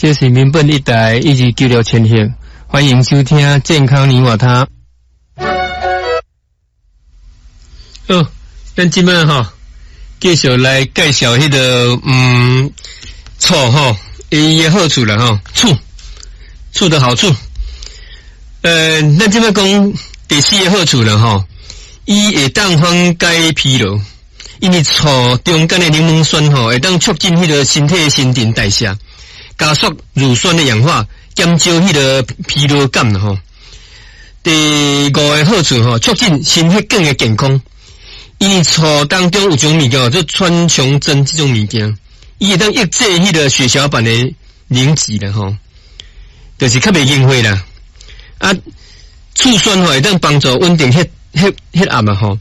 這是民本一台1296千赫，歡迎收聽健康你我他。好，咱這擺吼，繼續來介紹彼個醋吼，伊的好處啦吼，醋醋的好處。咱這擺講第四个好處啦吼，伊會當緩解疲勞，因為醋中間的檸檬酸吼，會當促進彼個身體的新陳代謝，加速乳酸的氧化，減少彼個疲勞感吼。第五个好處吼，促進心血管的健康。因為醋當中有種物件叫做川芎唑這種物件，伊會當抑制彼個血小板的凝集啦吼，就是較袂凝血啦。啊，醋酸吼會當幫助穩定血壓嘛吼，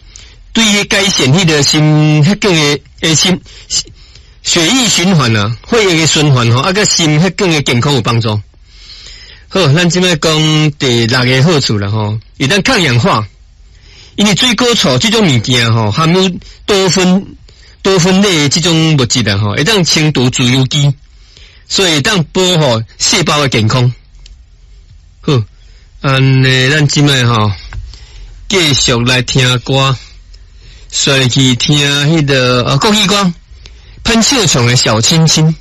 對於改善彼個心血管的心血液循環啊，血液的循環吼，啊，佮心血管的健康有幫助。好，咱這擺講第六个好處啦吼，會當抗氧化。因為水果醋這種物件吼，含有多酚類的這種物質啊吼，會當清除自由基，所以會當保護細胞的健康。好，按呢，咱這擺吼，繼續來聽歌，煞去聽彼個國語歌，潘秀瓊的小親親。